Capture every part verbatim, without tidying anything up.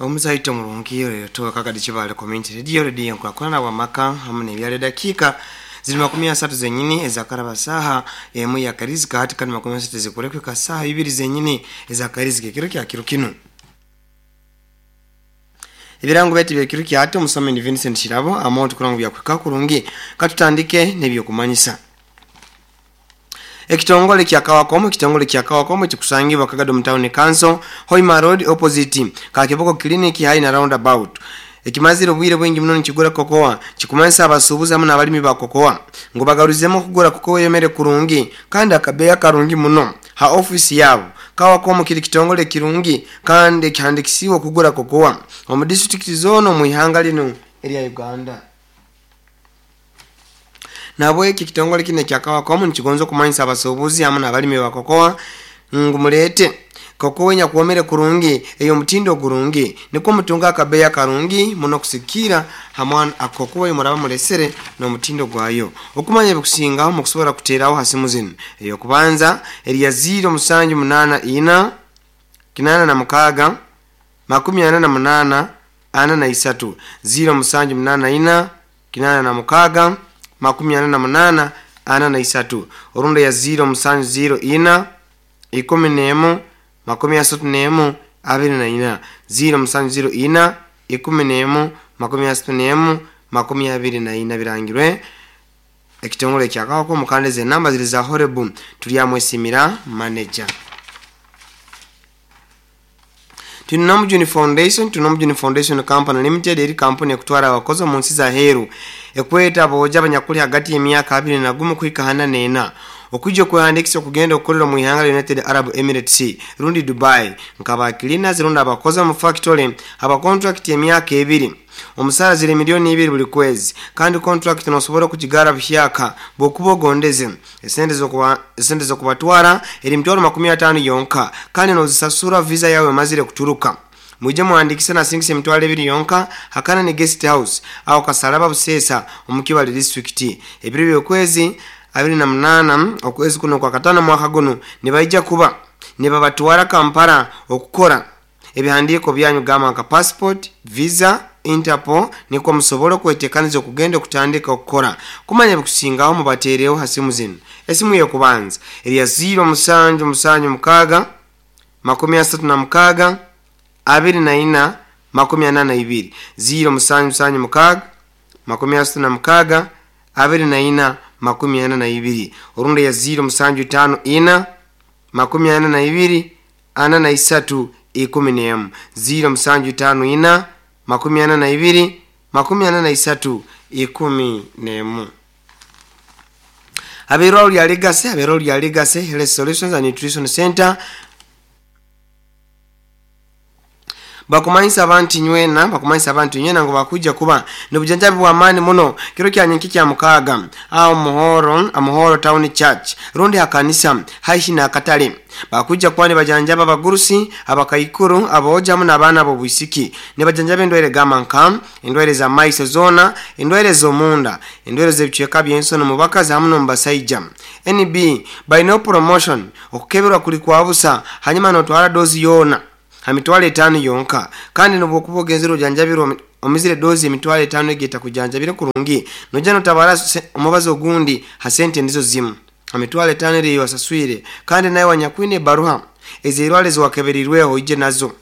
Omuzaito murungi rero Kagadi Kibale Community Radio, radio nkurakurana bwamaka hamwe n'ebyalo. Dakiika ziri makumi asatu zenyini ezakaraba saha emu ya karizika hati, kandi makumi asatu zikurekweka saha ibiri zenyini ezakarizika ekiro kya kiro kinu. Ebirango byaitu byekiro kyati, omusomi ni Vincent Shirabo amonto kurango byakwika kurungi. Katutandike n'ebyokumanyisa. Ekitongole kya Kawakomo, ekitongole kya Kawakomo kikusangibwa Kagado Town Council, Hoima Road, opposite Kakiboko Clinic hai na roundabout, ekimazire obwire bwingi muno nikigura kokoa, kikumanyisa abasuubuzi hamwe n'abalimi ba kokoa ngu bagaruzemu okugura kokoa eyomere kurungi kandi akabeeyi akarungi muno ha ofisi yabo. Kawakomo kiri kitongole kirungi kandi ekihandikisiwe okugura kokoa omu disitulikiti zoona omu ihanga linu erya Uganda. Nabweki ekitongole kino ekya Kawakomo nikigonza okumanyisa abasuubuzi hamwe n'abalimi ba kokoa ngu muleete kokoa enyakwomere kurungi ey'omutindo ogurungi, nikwo mutunga akabeeyi akarungi muno kusikira hamwe akokoa muraba mulesere n'omutindo gwayo. Okumanya ebikusingaho, mukusobora kuteeraho ha simu zinu: eyokubanza erya ziro musanju munaana ina kinaana na mukaaga makumi ana na munaana ana na isatu, ziro musanju munaana ina kinaana na mukaaga makumi ana na munaana ana na isatu, orundi ya ziro musanju ziro ina ikumi n'emu makumi asatu n'emu abiri na ina, ziro musanju ziro ina ikumi n'emu makumi asatu n'emu makumi abiri na ina. Birangirwe ekitongole kya Kawako. Mukandeze enamba ziri za Horebu Turyamwesimira, manager. Tunomujuni Foundation, Tunomujuni Foundation Company Limited eri kampuni ekutwara abakozi omu nsi za heru, ekweta abooja abanyakuli hagati y'emyaka abiri na gumu kuhika hana n'ena okwijja okwehandikisa okugenda okukolera mu ihanga lya United Arab Emirates rundi Dubai nkaba cleaners rundi abakozi mu factory aba contract emyaka ebiri. Omusaara ziri miliyoni ibiri buli kwezi, kandi contract nosobora okugigara buhyaka bwokuba ogondeze. Esente zokuba esente zokubatwara eri mitwaro makumi ataano yonka, kandi nozisasura visa yawe emazire kuturuka. Mwije muhandikise nasingisa emitwalo ebiri yonka hakana ne guest house aho Kasalaba Busesa omu Kibale District. Ebiro by'okwezi abiri na munaana okwezi kuno kwa katano mwaka guno nibaija kuba nibabatwara Kampala okukora ebihandiiko byanyu gamba nka passport, visa, Interpol, nikwo musobole okwetekaniza okugenda okutandika okukora. Kumanya ebikusingaho, mubateereho ha simu zinu: esimu y'okubanza erya ziro musanju musanju mukaaga makumi asatu na mukaaga abiri na ina makumi ana na ibiri, ziro musanju musanju mukaaga makumi asatu na mukaaga abiri na ina makumi ana na ibiri, orundi ya ziro musanju itaano ina makumi ana na ibiri ana na isatu ikumi n'emu, ziro musanju itaano ina makumi ana na ibiri makumi ana na isatu ikumi n'emu. Abeerwalo lya Legacy, abeerwalo lya Legacy Health Solutions and Nutrition Center bakumanyisa abantu nywena, bakumanyisa abantu nywena ngu bakujja kuba nobujanjabi bw'amaani muno kiro kya nyenki kya mukaaga aho Muhoro, Amuhoro Town Church rundi hakanisa haihi n'akatale. Bakujja kuba nibajanjaba abagurusi, abakaikuru, abooja hamu n'abaana b'obwisiki. Nibajanjaba endwaire gamba nka endwaire za maiso zoona, endwaire z'omunda, endwaire z'ebicweka by'ensono mu bakazi hamu n'omu basaija. N B balinaho promotion: okukeberwa kuli kwa busa, hanyuma notwara dozi yoona ha mitwalo etaano yonka, kandi nobwokuba ogenzere ojanjabirwe omizire dozi emitwalo etaano egeta kujanjabire kurungi, nojja notabara omubazi ogundi ha sente nizo zimu ha mitwalo etaano eriyo wasaswire. Kandi nawe wanyakwine ebaruha ez'erwale ziwakeberirweho ije nazo.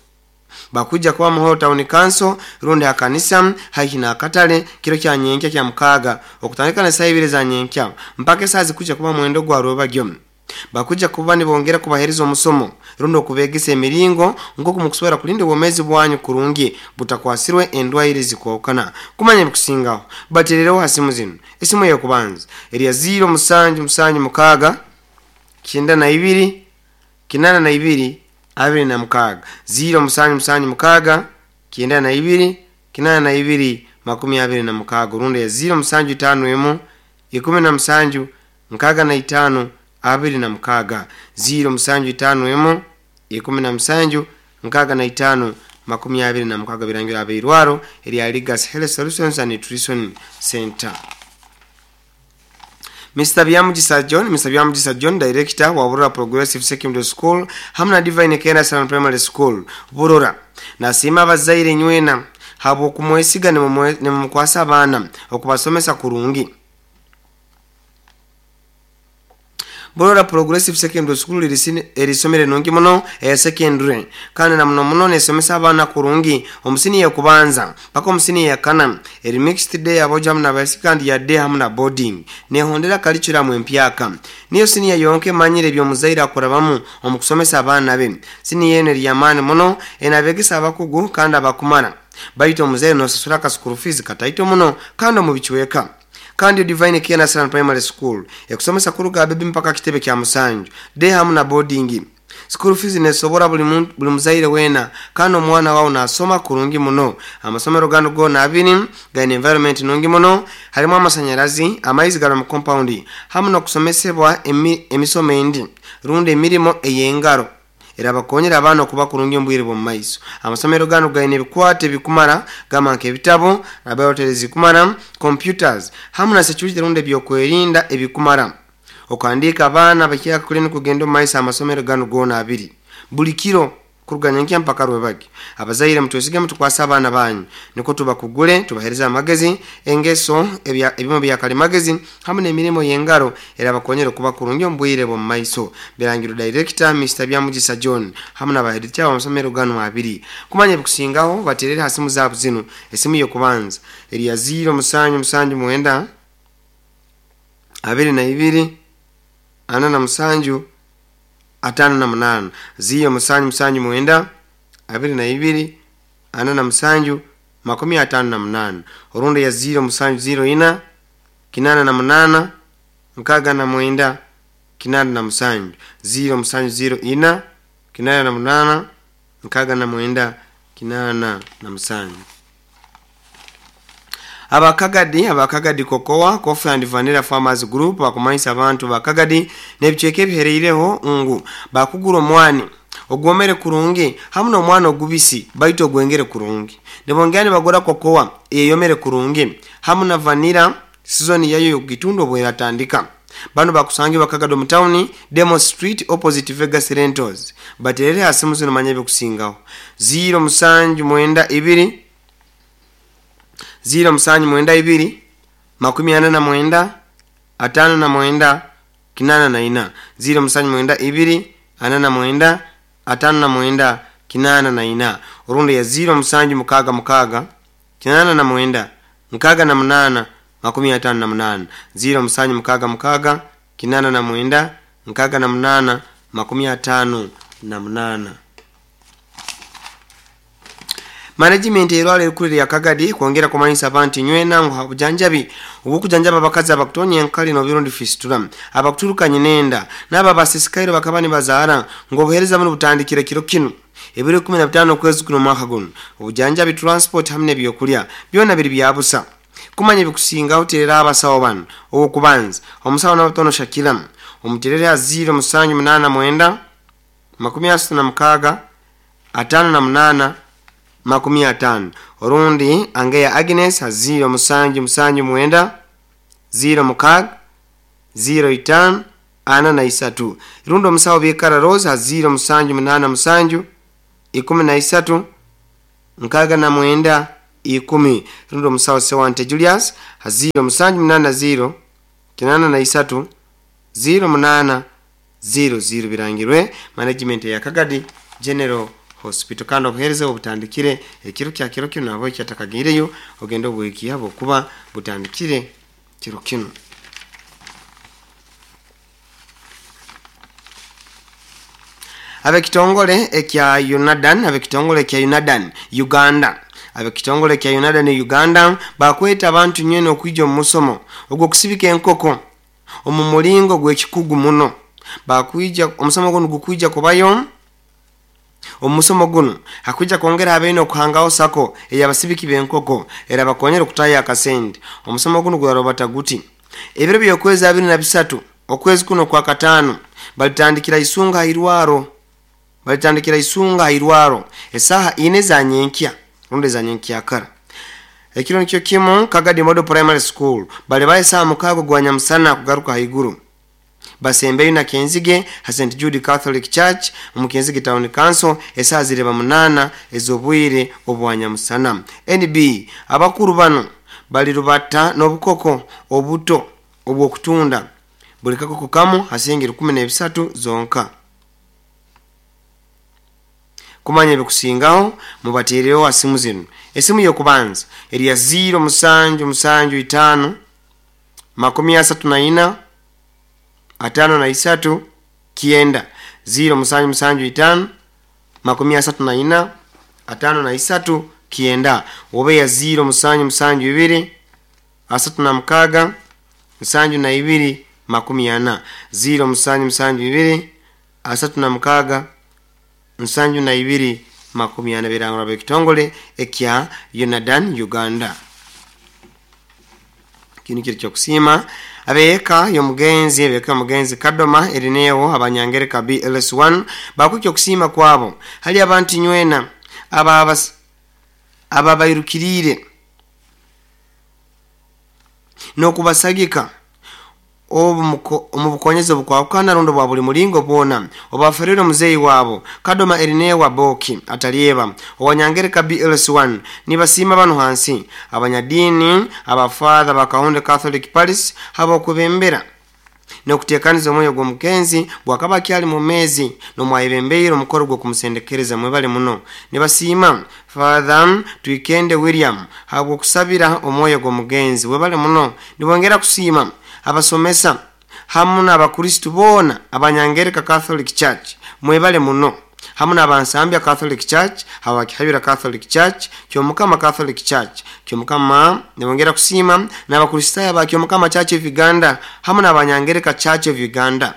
Bakujja kuba Muhoro Town Council rundi hakanisa haihi n'akatale kiro kya nyenkya kya mukaaga okutandika na saa ibiri za nyenkya mpaka esaa zikujja kuba mwendo gwa rwebagyo. Bakujja kuba nibongera kubahereza omusomo rundi okubegesa emiringo nk'oku mukusobora kulinda obwomeezi bwanyu kurungi butakwasirwe endwaire zikwahukana. Kumanya ebikusingaho, baterereho ha simu zinu: esimu ey'okubanza erya ziro musanju musanju mukaaga kyenda na ibiri kinaana na ibiri abiri na mukaaga, ziro musanju musanju mukaaga kyenda na ibiri kinaana na ibiri makumi abiri na mukaaga, orundi ya ziro musanju itaano emu ikumi na musanju nkaaga na itaano abiri na mukaaga, ziro musanju itaano emu ikumi na musanju nkaaga na itaano makumi abiri na mukaaga. Birangira abeirwaro erya Legacy Health Solutions and Nutrition Center. Mister Byamugisa John, Mister Byamugisa John, director wa Burora Progressive Secondary School hamwe na Divine Kenastan Primary School Burora. Nasiima abazaire nywena habw'okumwesiga nimumukwasa abaana okubasomesa kurungi. Burora Progressive Secondary School erisomere nungi muno eya secondary kandi na muno muno nesomesa abaana kurungi omusini ya kubanza paka omusini ya kana eri mixed day abojo hamu n'abaisiki kandi ya day hamu na boarding nehondera curriculum empyaka. Niyo siniya yonka emanyire ebyomuzaire akurabamu omu kusomesa abaana be. Siniya eno eri y'amaani muno enabegesa abakugu kandi abakumara, baitu omuzaire nosasura aka school fees kataito muno kandi omu bicweka. Kandi Divine Care Nursery Primary School ekusomesa kuruga bebi mpaka kitebe kya musanju day hamu na boarding. School fees nesobora buli buli muzaire wena kandi omwana wawe nasoma kurungi muno. Amasomero gano gona abiri gaine environment nungi muno, harimu amasanyarazi, amaizi gari mu compound hamu n'okusomesebwa emi, emisomo endi rundi emirimo ey'engaro erabakonyera abaana okuba kurungi omu bwire bw'omu maiso. Amasomero gano gaine ebikwate ebikumara gamba nk'ebitabo, laboratories zikumara, computers hamu na security rundi ebyokwerinda ebikumara. Okuhandiika abaana bakyaka kuleni kugenda omu maiso amasomero gano gona abiri buli kiro kuruga nyenkya mpaka rwebagi. Abazaire mutwesige mutukwasa abaana banyu niko tubakugule tubahereza amagezi engeso ebimo byakalimagezi hamu n'emirimo y'engaro erabakonyera okuba kurungi omu bwire bw'omu maiso. Birangiro Director Mister Byamugisa John hamu n'abaheereza amasomero gano abiri. Kumanya ebikusingaho baterere ha simu zaabo zinu. Esimu y'okubanza eri ya ziro musanju musanju mwenda abiri na ibiri ana na musanju atano na munana, ziro musanju musanju mwenda abiri na ibiri ana na musanju makumi atano na munana, orundi ya ziro musanju ziro ina kinana na munana nkaga na mwenda kinana na musanju, ziro musanju ziro ina kinana na munana nkaga na mwenda kinana na musanju. Abakagadi abakagadi Cocoa Coffee and Vanilla Farmers Group bakumanyisa abantu bakagadi n'ebicweka ebihereireho ngu bakugura omwani ogwomere kurungi hamu n'omwana ogubisi baitu ogwengere kurungi. Nibongera nibagura cocoa eyomere kurungi hamu na vanilla season yayo yokugitunda obweratandika. Bano bakusangi bakagadi omu town Demo Street opposite Vegas Rentals. Baterere hasimu zino manya ebikusingaho ziro musanju mwenda ibiri ziro musanju mwenda ibiri makumi ana na mwenda atano na mwenda kinana na ina, ziro musanju mwenda ibiri ana na mwenda atano na mwenda kinana na ina, orundi ya ziro musanju mukaga mukaga kinana na mwenda mukaga na munana makumi atano na munana, ziro musanju mukaga mukaga kinana na mwenda mukaga na munana makumi atano na munana. Management erwala erikuru lya Kagadi kwongera kumanyisa abantu nywena ngu obujanjabi obukujanjaba abakazi abakutonya enkali n'obirundi fistula abakuturukanye nenda n'abo abasisikaire bakaba nibazaara ngu obuheereza buno butandikire kiro kinu ebiro ikumi na bitaano okwezi kuno omwaka guno. Obujanjabi, transport hamu n'ebyokulya byona biri bya busa. Kumanya ebikusingaho terera abasawo bano. Owokubanza omusawo Nabatono Shakira omuterere ha ziro musanju munaana mwenda makumi asatu na mukaaga ataano na munaana makumi atano, orundi Angeya Agnes ha ziro musanju musanju mwenda ziro mukaaga ziro itano ana na isatu, rundi omusawo Bikara Rose ha ziro musanju munaana musanju ikumi na isatu nkaaga na mwenda ikumi, rundi omusawo Sewante Julius ha ziro musanju munaana ziro kinana na isatu ziro munaana ziro ziro. Birangirwe management ya Kagadi General Hospital. Kandi obuheereza obutandikire ekiro kya kiro kino nabo kyatakagiireyo ogenda obweki yabo kuba butandikire kiro kino. Abekitongole ekya Unadan abekitongole ekya Unadan Uganda abekitongole ekya Unadan Uganda bakweta abantu nywene okwijja omu musomo ogw'okusibika enkoko omu mulingo gw'ekikugu muno. Bakwija omusomo guno gukwija kubayo omusomo guno hakwija kwongera abeine okuhangaho sako ey'abasibiki b'enkoko era bakonyera okutaya akasente. Omusomo guno gwarobata guti ebiro by'okwezi abiri na bisatu okwezi kuno kwa kataano balitandikira isunga hairwaro balitandikira isunga hairwaro esaha ine za nyenkya rundi za nyenkya kara. Ekiro nikyo kimu Kagadi Model Primary School bali baye saa mukaago gwa nyamusana kugaruka haiguru. Basembeyo na Kenzige ha Saint Jude Catholic Church omu Kenzige Town Council esaaha zireba munaana ez'obwire obwanyamusana. N B abakuru bano balirubata n'obukoko obuto obw'okutunda, buli kakoko kamu hasingi rukumi n'ebisatu zonka. Kumanya ebikusingaho mubateereho ha simu zinu. Esimu y'okubanza erya ziro musanju musanju itaano makumi asatu na ina atano na isatu kyenda, ziro musanju musanju itaano makumi asatu na ina atano na isatu kyenda, oba ya ziro musanju musanju ibiri asatu na mukaaga nsanju na ibiri makumi ana, ziro musanju musanju ibiri asatu na mukaaga nsanju na ibiri makumi ana. Birangirwa b'ekitongole ekya Yonadan Uganda. Kinu kiri kyokusiima abeeka y'omugenzi, abeeka y'omugenzi Kadoma Erinewo Abanyangereka B L S one bakwikya okusiima kwabo hali abantu nywena ababas- ababairukiriire n'okubasagika obu omu bukonyezi obukwahukana rundi bwa buli mulingo bwona obaferire omuzeeyi waabo Kadoma Erinewa Boki Atalyeba owanyangereka B L S one. Nibasiima bano hansi: abanyadiini, abafatha Bakahunde Catholic Parish habwokwebembera n'okuteekaniza omwoyo gw'omugenzi bwakaba akyali mumezi nomwayebembeire omukoro gw'okumusendekereza, mwebale muno. Nibasiima Father Twikende William habwokusabira omwoyo gw'omugenzi, webale muno. Nibongera kusiima abasomesa hamu n'abakristu boona Abanyangereka Catholic Church, mwebale muno, hamu n'Abansambya Catholic Church, Habakihayura Catholic Church, Kyomukama Catholic Church Kyomukama. Nibongera kusiima n'abakristaayo ba Kyomukama Church of Uganda hamu n'Abanyangereka Church of Uganda,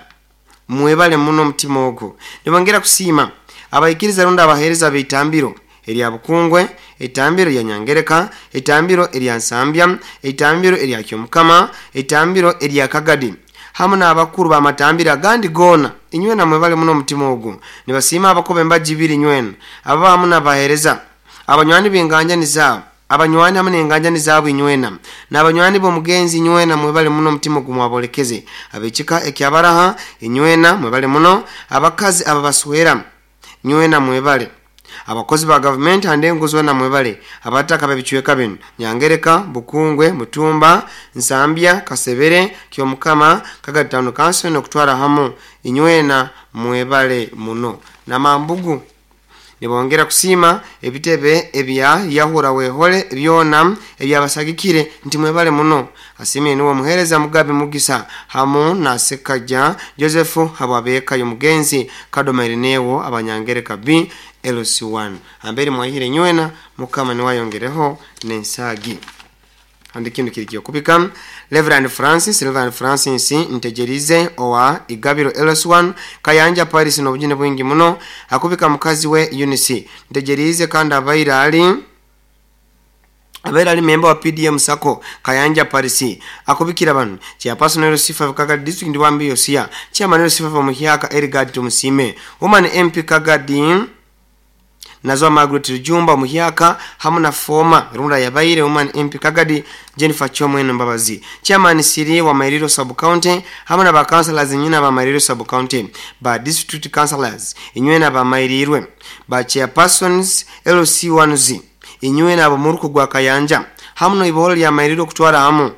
mwebale muno omutima ogwo. Nibongera kusiima abaikiriza rundi abaheereza b'eitambiro erya Bukungwe, eitambiro erya Nyangereka, eitambiro erya Nsambya, eitambiro erya Kyomukama, eitambiro erya Kagadi, hamu n'abakuru b'amatambiro agandi goona, inywena mwebale muno omutima ogwo. Nibasiima abakoba embaji ibiri nywena aba hamu n'abaheereza abanywani b'enganjani zaabo, abanywani hamu n'enganjani zaabo inywena n'abanywani b'omugenzi, inywena mwebale muno omutima ogwo mwabolekeze. Ab'ekika ekyabaraha inywena mwebale muno, abakazi ababaswera nywena mwebale, abakozi ba gavumenti hande zona mwebale, abataka b'ebicweka bino: Nyangereka, Bukungwe, Mutumba, Nsambya, Kasebere, Kyomukama, Kagadi Town Council n'okutwara hamu inywena mwebale muno. Namambugu nibongera kusiima ebitebe ebya Yahura Wehole byona ebyabasagikire nti mwebale muno. Asiimire niwe omuheereza Mugabe Mugisa hamu na Sekaja Joseph habwabeeka y'omugenzi Kadoma Irinewo Abanyangereka B L C one. Ambere mwahire nywena, Mukama niwayongereho n'ensaagi. Andi kintu kiri kyokubika Reverend Francis, Reverend Francis Ntegerize owa Igabiro L S one Kayanja Paris n'obujune bwingi muno akubika mukazi we Eunice Ntegerize, kandi abaire ali abaire ali memba wa P D M Sacco Kayanja Paris. Akubikira bano: chairperson L C five Kagadi District Wambi Yosia, chairman L C five Omuhyaka Erigad Tumusime, woman M P Kagadi Nazo Margaret Rujumba Muhyaka, hamu na former Runda yabaire woman M P Kagadi Jennifer Chomwene Mbabazi, chairman Siri wa Mairiro Sub County, hamu na ba councillors nyina ba Mairiro Sub County, ba district councillors inywena ba Mairirwe, ba chairpersons L C one Z inywena abo muruku gwa Kayanja hamu no ibiholo lya Mairiro kutwara hamu.